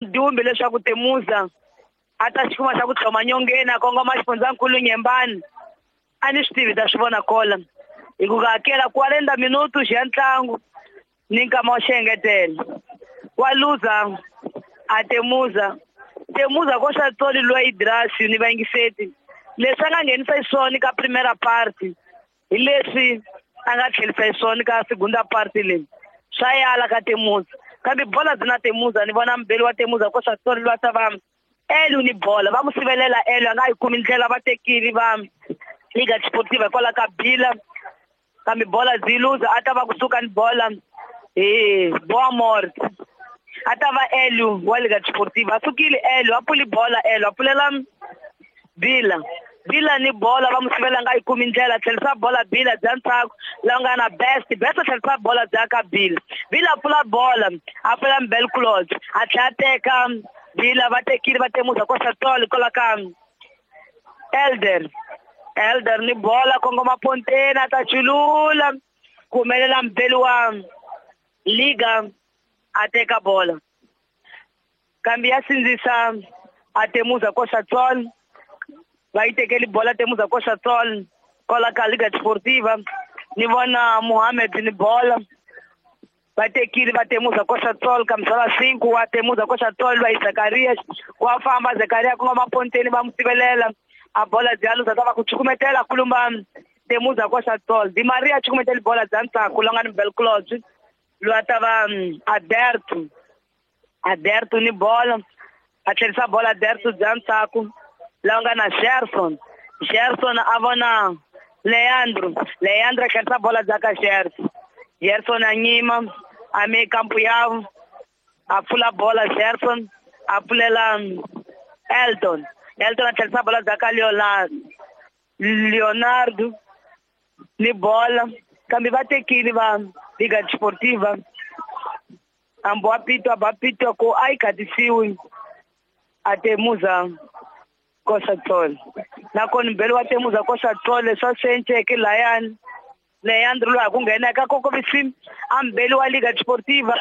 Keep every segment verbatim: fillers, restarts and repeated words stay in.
Dumbi leswaku Temuza a ta xi kuma xa ku tlhoma nyongeni a kongoma xifundzankulu Nyembani a ni swi tivi ta swi vona kola hi ku hakela quarenta minutos ya ntlangu ni nkama wa xiengetelo wa luza a Temuza Temuza ko xa tsoli loyi Idrasi ni vayingiseti leswi a nga nghenisa xiswona ka primera parte hi leswi a nga tlherisa xiswona ka segunda parte leyi swa yala ka Temuza kambe bola byi na Temuza ni vona mbeli wa Temuza ko xa tsoli lwa ta va Elu ni bola va mu sivelela Elu a nga yi kumi ndlela va tekile va Liga Desportiva hikwalaho ka Bila kambe bola byi luza a ta va kusuka ni bola hi Boa Morte a ta va Elu wa Liga Desportiva a sukile Elu a pfuli bola Elu a pfulela Bila Bila ni bola va mu sivela nga yi kumi ndlela tlherisa bola Bila bya ntsako la nga na best best tlherisa bola bya ka Bila Bila a pfula bola a pfula Mbel Claude a tlhela a teka Bila va tekile va Temuza ko Satoli kwala ka Elder Elder ni bola kongoma ponteni a ta chulula ku humelela mbeli wa Liga a teka bola kambe ya sindzisa a Temuza ko Satoli va yi tekeli bola Temuza ko Satoli kwala ka Liga Desportiva ni vona Mohamed ni bola va tekile va Temuza ko Satoli kamsala cinco wa Temuza ko Satoli va yi Zakaria wa famba Zakaria kongoma ponteni va mu sivelela a bola bya luza ta va ku chukumetela kulumba Temuza ko Satoli Di Maria chukumetela bola bya ntsako la nga ni Bel Claude lwa ta va Aderto Aderto ni bola a tlherisa bola Aderto bya ntsako la nga na Gerson Gerson a vona Leandro Leandro a tlherisa bola bya ka Gerson Gerson a nyima a me kampo ya a pfula bola Gerson a pfulela Elton Elton a tlherisa bola bya ka Leonardo Leonardo ni bola kambe va tekile va Liga Desportiva ambo a pitwa ba pitwa ko a yi khatisiwi a Temuza ko Satoli nakona mbeli wa Temuza ko Satoli swa swi layani Leandro loyi a ku nghena eka kokovisi a mbeli wa Liga Desportiva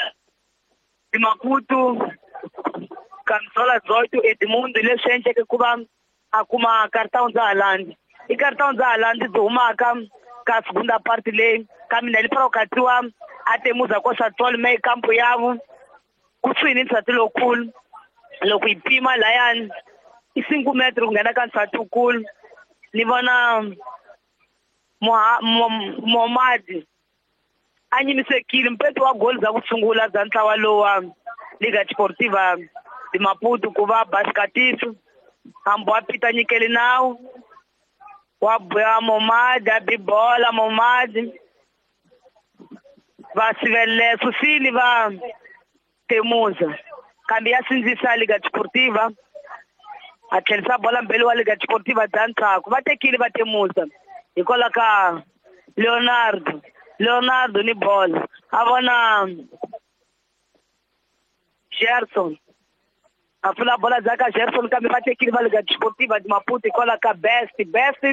Maputo Camisola Zoito Edmundo leswi endleke ku va a kuma cartão dza Haaland i cartão dza Haaland byi humaka ka segunda parte leyi kambe na li katsiwa a Temuza ko Satoli me kampo yavo kusuhi ni nsati lowukulu loko yi pima layani i cinco metro ku nghena ka nsati wukulu ni vona Momadi a nyimisekile mpeto wa goli bya ku sungula bya ntlawa lowa Liga Desportiva de Maputo ku va Basikatiso hambi wa pita nyikeli nawu wa buya Momadi a bi bola Momadi va sivelela susile va Temuza kambe ya sindzisa Liga Desportiva a tlherisa bola mbeli wa Liga Desportiva bya ntsako va tekile va Temuza hikwalaho ka Leonardo Leonardo ni bola a vona Gerson a pfula bola bya ka Gerson kambe va tekile va Liga Desportiva de Maputo hikwalaho ka Best Best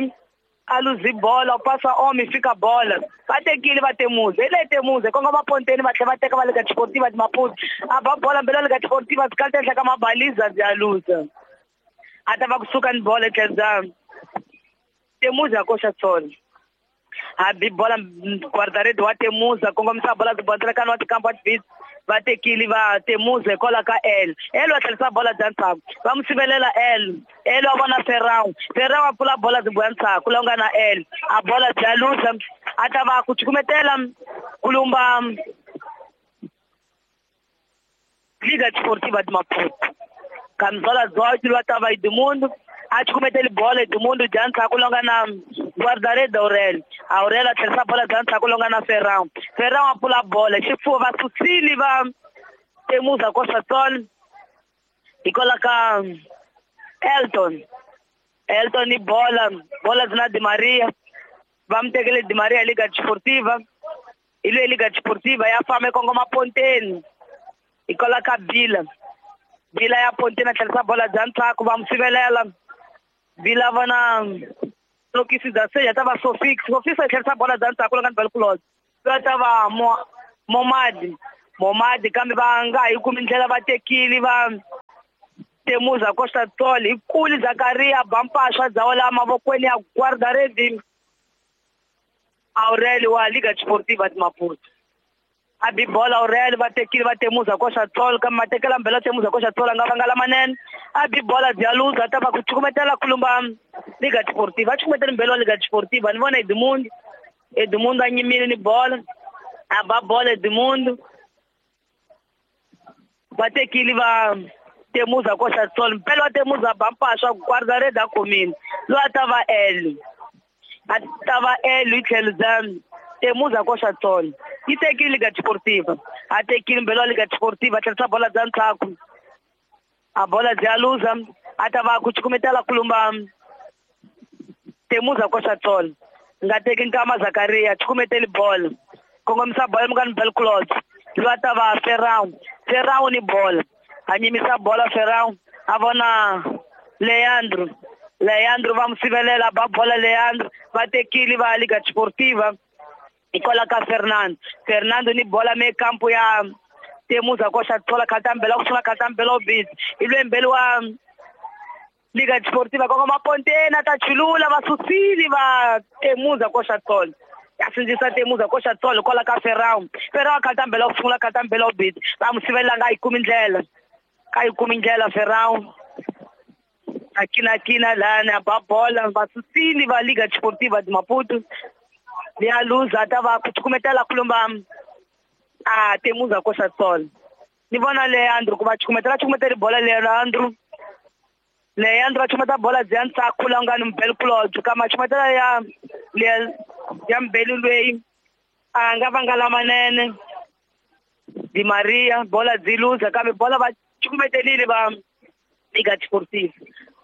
a luzi bola u pasa omi fika bola va tekile va Temuza hi leyi Temuza kongoma ponteni va tlhela va teka va Liga Desportiva de Maputo a ba bola mbeli wa Liga Desportiva byi kalita henhla ka mabaliza bya luza a ta va kusuka ni bola etlhelo bya Temuza ko Satoli a bi bola guarda-rede wa Temuza kongomisa bola byi bondzela wa tikampo wa tibisi va tekile va Temuza hikwalaho ka El El wa tlherisa bola bya ntsako va mu sivelela El El wa vona Ferrao Ferrao a pfula bola byi boya ntsako la nga na El a bola bya luza a ta va ku chukumetela kulumba Liga Desportiva de Maputo Camisola dezoito lwa ta va Edmundo a chukumeteli bola Edmundo bya ntsako la nga na guarda-rede Aurelio Aurelio a tlherisa bola bya ntsako la nga na Ferrao Ferrao a pfula bola xifuwo va susile va Temuza ko Satoli hikwalaho ka Elton Elton ni bola bola byi na Di Maria va mu tekele Di Maria Liga Desportiva hi leyi Liga Desportiva ya famba yi kongoma ponteni hikwalaho ka Bila Bila ya ponteni a tlherisa bola bya ntsako va mu sivelela Bila vona Lokisi da seja ta va Sofix Sofix a tlherisa bola bya ntsako la nga ni Belclose va ta va Momadi Momadi kambe va nga yi kumi ndlela va tekile va Temuza Costa Tol hi kuli Zakaria Bampasha dzawa mavokweni ya guarda-rede Aurelio wa Liga Desportiva de Maputo. A bi bola Aurelio va tekile va Temuza Costa Tol kambe matekela mbela Temuza Costa Tol nga vanga lamanene. A bi bola Dialuza ta va ku chukumetela kulumba Liga Desportiva. Chukumetela mbela Liga Desportiva ni vona Edmundo. Edmundo a nyimile ni bola. A ba bola Edmundo. Va tekile va Temuza Costa Tol mpela wa Temuza Bampasha guarda-rede a khomile loyi a ta va L a ta va L hi tlhelo bya Temuza Costa Tol yi tekile Liga Desportiva a tekile mbela wa Liga Desportiva a tlherisa bola bya ntlhaku a bola bya luza a ta va ku cukumetela kulumba Temuza Costa Tol nga teki nkama Zakaria cukumeteli bola kongomisa bola mukani Bel Claude loyi a ta va Ferrao Ferrao ni bola a nyimisa bola Ferrao a vona Leandro Leandro va musivelela ba bola Leandro va tekile va Liga Desportiva hikwalaho ka Fernando Fernando ni bola me kampo ya Temuza Costa Tol khatambela ku sungula khatambela obisi hi lwe mbele wa Liga Desportiva kongoma Pontena ta chulula va susile va Temuza Costa Tol ya sindzisa Temuza Costa Tol hikwalaho ka Ferrao Ferrao khatambela ku sungula khatambela obisi va musivelela nga yi kumi ndlela ka yi kumi ndlela Ferrao akina kina lana ba bola va susile va Liga Desportiva de Maputo ya luza ta va ku cukumetela kulumba a Temuza Costa Tol ni vona Leandro ku va cukumetela cukumetela bola Leandro Leandro cukumeta bola bya ntsakhu la nga ni Mbele Claude kama cukumetela ya ya Mbele loyi a nga vanga lamanene Di Maria bola byi luza kambe bola va cukumetelile va Liga Desportiva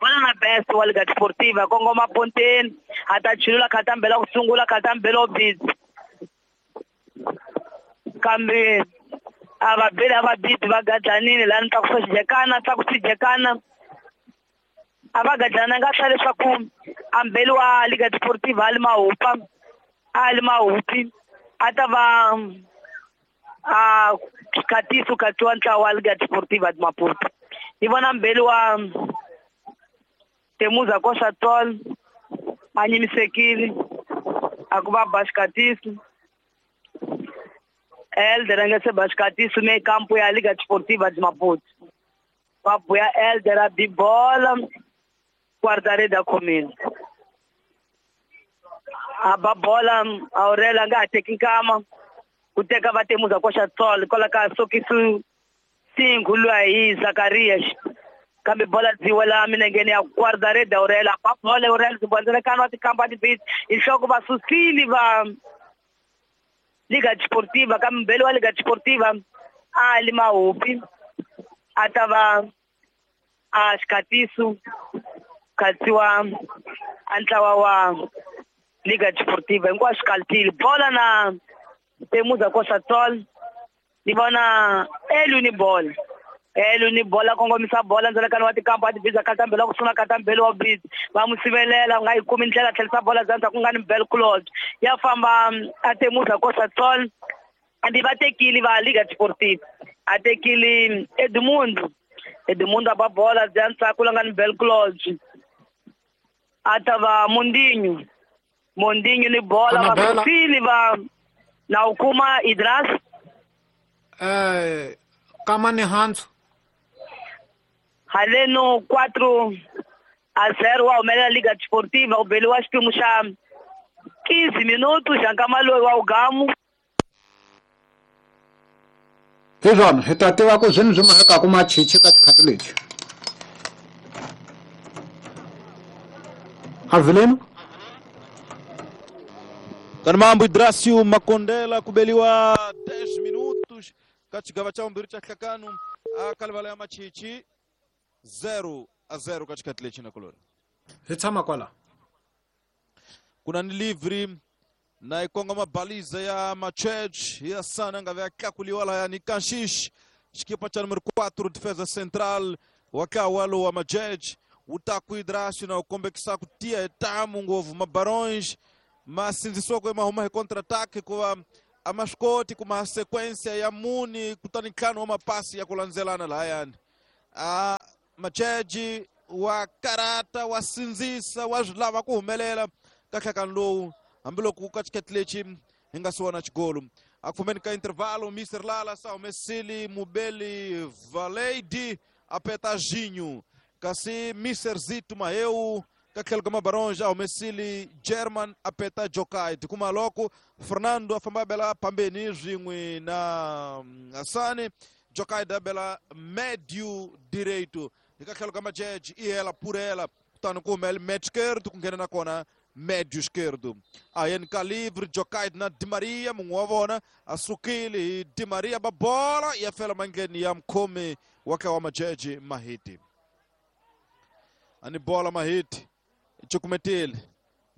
bola na best wa Liga Desportiva kongoma Ponteni a ta chulula khatambela ku sungula khatambela obisi kambe a va beli a va bibi va gadlanile laha ni tlakusa xijekana tlakusa xijekana a va gadlana nga hla leswaku a mbeli wa Liga Desportiva a li mahupa a li mahupi a ta va a khatiso khatsiwa ntlawa wa Liga Desportiva de Maputo. Ni vona mbeli wa Temuza Costa Tol a nyimisekile a ku va ba xikatiso Elder a nga se ba xikatiso me kampo ya Liga Desportiva de Maputo va buya Elder a bi bola guarda-rede a khomile a ba bola Aurelio a nga ha teki nkama ku teka va Temuza Costa Tol hikwalaho ka sokisu cinco loyi hi Zacarias kambe bola byi wela minengeni ya guarda-rede Aurelio a ba bola Aurelio zibonzelekana wa tikamba tibisi hi nhloko va susile va Liga Desportiva kambe mbele wa Liga Desportiva a li mahupi a ta va a xikatiso khatsiwa a ntlawa wa Liga Desportiva hinkwaswo kaltile bola na Temuza Costa Tol ni vona Elu ni bola Elu ni bola kongomisa bola ndzalekano wa tikampa ti biza khatambela ku sungula khatambela wa bizi va mu sivelela nga yi kumi ndlela tlherisa bola bya ndzhaku nga ni Bel Claude ya famba a Temuza Costa Tol andi va tekile va Liga Desportiva a tekile Edmundo Edmundo a ba bola bya ndzhaku la nga ni Bel Claude a ta va Mondinho Mondinho ni bola va susile va na u kuma Idras eh kama ni hands haleno quatro a zero wa humelela Liga Desportiva u beliwa xiphemu xa quinze minutos xa nkama loyi wa ugamu hi swona hi ta tiva ku swini swi mahekaku machichi ka tikhati leti Avelino Kanamambo Idracio Makondela kubeliwa dez minutos katika cha mbili cha hlakanu akalivala ya machichi zero a zero katika tilechi na kolori hi tshama kwala kuna ni livre na ikonga mabaliza ya machech ya sana ngave akakuliwala ya nikanshish xikipa cha número quatro defesa central wakawalo wa majej utaku Idracio na ukombekisa kutia etamu ngovu mabarões masinzisoko emahuma hi contra-ataque kuva A ma swi koti kuma sequência ya muni kutani ntlhanu wa mapasi ya ku landzelana lahayani. A Macheji wa karata wa sindzisa wa swi lava ku humelela ka nhlakano lowu hambiloko ka xiketi lexi hi nga si vona xigolo. A ku fumeni ka intervalo Mister Lala sa humesile Mubeli Valeidi a peta Ginho kasi Mister Zito Maheu ka tlhelo ka Mabaronja a humesile German a peta Jokai. Tikuma loko Fernando a famba bela pambeni swin'we na Asani Jokai da bela médio direito. Ka tlhelo ka Macheji i hela purela kutani ku humele médio esquerdo ku nghena na kona médio esquerdo. A N K livre Jokai na Di Maria mun'we wa vona a sukile hi Di Maria ba bola ya fela mandleni ya mukhomi wa ka wa Macheji Mahiti. Ani bola Mahiti cukumetile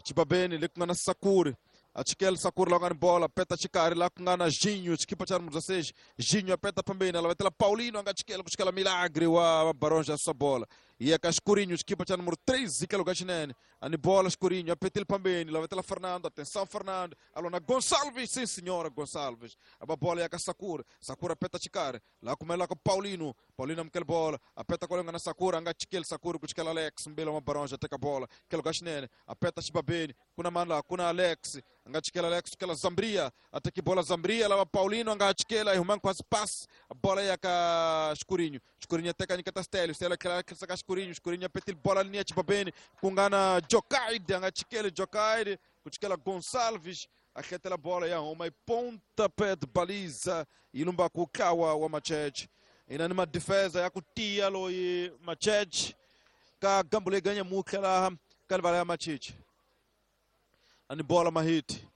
chibabeni le ku nga na Sakuri a chikela Sakuri la ku nga ni bola peta xikarhi la ku nga na Ginho xikipa xa numero dezesseis Ginho a peta pambeni a lavetela Paulino a nga chikela ku chikela Milagre wa Baronja swa bola ya ka Escurinho xikipa xa numero treze tlhelo ka xinene a ni bola Escurinho a petile pambeni lavetela Fernando atenção Fernando alona Gonçalves sim senhora Gonçalves a ba bola ya ka Sakuri Sakuri a peta xikarhi la kumela ka Paulino Paulino amukela bola a peta kwale nga na Sakuri a nga chikeli Sakuri ku chikela Alex mbele wa Baronja teka bola tlhelo ka xinene a peta xibabeni ku na mani laha ku na Alex a nga chikela Alex chikela Zambria a teki bola Zambria lava Paulino a nga chikela yi huma nkhwasi pass bola ya ka Escurinho Escurinho teka nyiketa Stelio Stelio tlhela a ka Escurinho Escurinho a petile bola linia xibabeni ku nga na Jokaide a nga chikeli Jokaide ku chikela Gonçalves a hletela bola ya huma yi pontapé de baliza yi lumba ku tlawa wa Macheji. Ina ni madefesa ya ku tiya loyi Macheji ka gambu leyi ganya mutlha laha ka livala ya Macheji. Ani bola Mahiti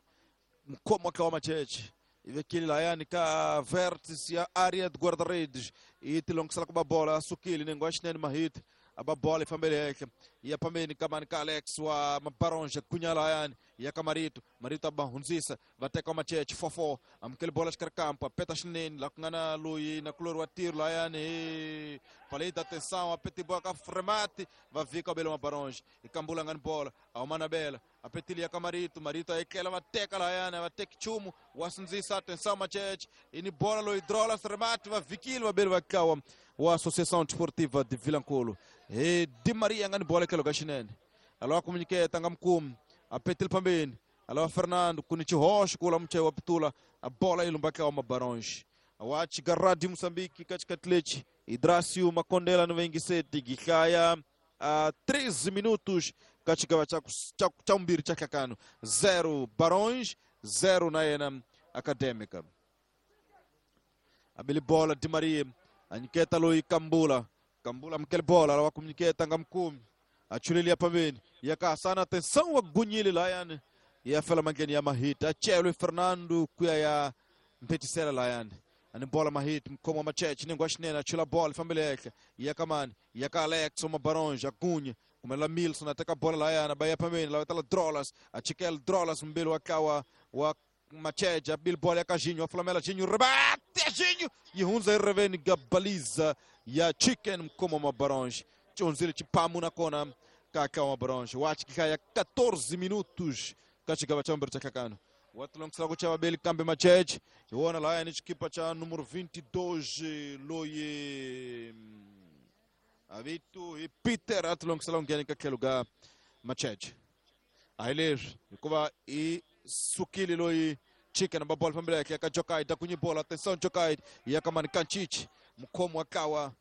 mukhomi wa tlawa Macheji i vekile lahayani ka vértice ya área de guarda-redes yi tilongisela ku ba bola a sukile nengo wa xinene Mahiti a ba bola yi fambele henhla yi ya pambeni ka mani ka Alex wa Mabaronja gunya lahayani ya ka Marito Marito a ba hundzisa va teka wa Macheji four four amukele bola xikarhi kampo a peta xinene laha ku nga na loyi na kulori wa tiro lahayani hi paleta atenção a peti bola ka Fremati va vika va bela Mabaronja i kambula nga ni bola a huma na bela a petile ya ka Marito Marito a etlela va teka lahayani va teki nchumu wa sindzisa atenção Macheji i ni bola loyi drola Remati va vikile va beli va tlawa wa Associação Desportiva de Vilankulo. Hi Di Maria nga ni bola tlhelo ka xinene a lava ku nyiketa nga mukumi a petile pambeni a lava Fernando ku ni xihoxo ku la muchayi wa pitula a bola yi lumba tlawa Mabaronji wa chika Radio Moçambique ka xikati lexi Hidracio Makondela ni vayingiseti gihlaya a treze minutos ka xigava xa xa vumbirhi xa nhlakano zero Barões zero na yena Acadêmica. Abili bola Di Maria a nyiketa loyi Kambula Kambula amukele bola lava ku nyiketa nga mukumi a chulelia pambeni ya ka Hasana atenção wa gunyile lahayani ya fela mandleni ya Mahiti a chelwe Fernando ku ya ya mphetisela lahayani ani bola Mahiti mukhomi wa Macheche nengo wa xinene a chula bola yi fambele henhla ya ka mani ya ka Alex wa Mabaronja gunya kumela Milson a teka bola lahayani ba ya pambeni lava tala Drolas a chikela Drolas mbili wa tlawa wa Macheji a bili bola ya ka Ginho a flamela Ginho rebate Ginho yi hundza yi reveni ga baliza ya Chicken mukhomi wa Mabaronja xihundzile xipamu nakona ka tlawa Mabaronja wa xihlaya quatorze minutos ka xigava xa vumbirhi xa nhlakano wa tilongisela ku chava beli kambe Macheji hi wona lahayani xikipa xa numero vinte e dois loyi a vito hi Peter a tilongisela ku nghena ka tlhelo ka Macheji a hi leswi hikuva i sukile loyi Chicken ba bola fambele henhla ka Jokai da kunyi bola atenção Jokai ya ka mani Kanchichi mukhomi wa tlawa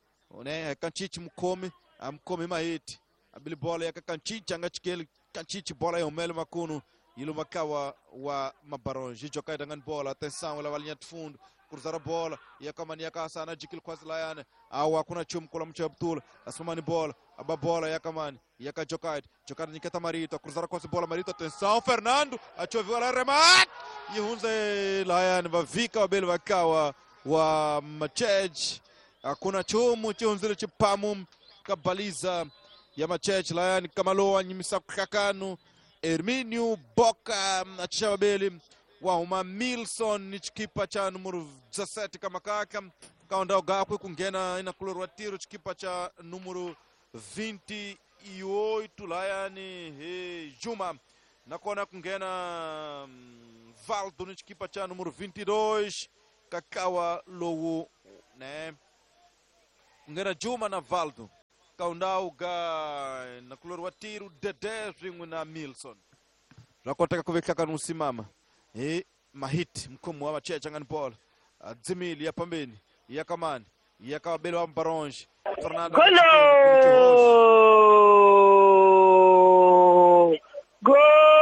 ne Kanchichi mukhomi a mukhomi Mahiti a bili bola ya ka Kanchichi a nga chikeli Kanchichi bola yi humele makunu yi luma tlawa wa Mabaronji Jokai da nga ni bola atenção lava linha de fundo cruzar a bola ya ka mani ya ka Hasana jikile khwasi layani awa kuna chumu kula muchayi wa butula asumani bola aba bola ya ka mani ya ka Jokai Jokai nyiketa Marito cruzar khwasi bola Marito atenção Fernando a choviwa la remate yi hundze layani va vika va beli va tlawa wa Macheji hakuna chumu xi hundzile xipamu ka baliza ya Macheji layani kamalowa nyimisa ku hlakano Herminio Boca a xava beli wa huma Milson ni xikipa xa numero dezessete ka makaka ka ndhawu gakwe ku nghena inakulori wa tiro xikipa xa numero vinte e oito layani hi Juma Nakona ku nghena mm, Valdo ni xikipa cha numero vinte e dois kakawa lowu ne ku nghena Juma na Valdo kaundau ga na kulori wa tiro Dede swin'we na Milson swa koteka ku vehlaka ni usimama hi mahit mkhomi wa machecha nga ni bola dzimili ya pambeni ya kamani ya ka vabeli wa Baronge Fernando. Golo!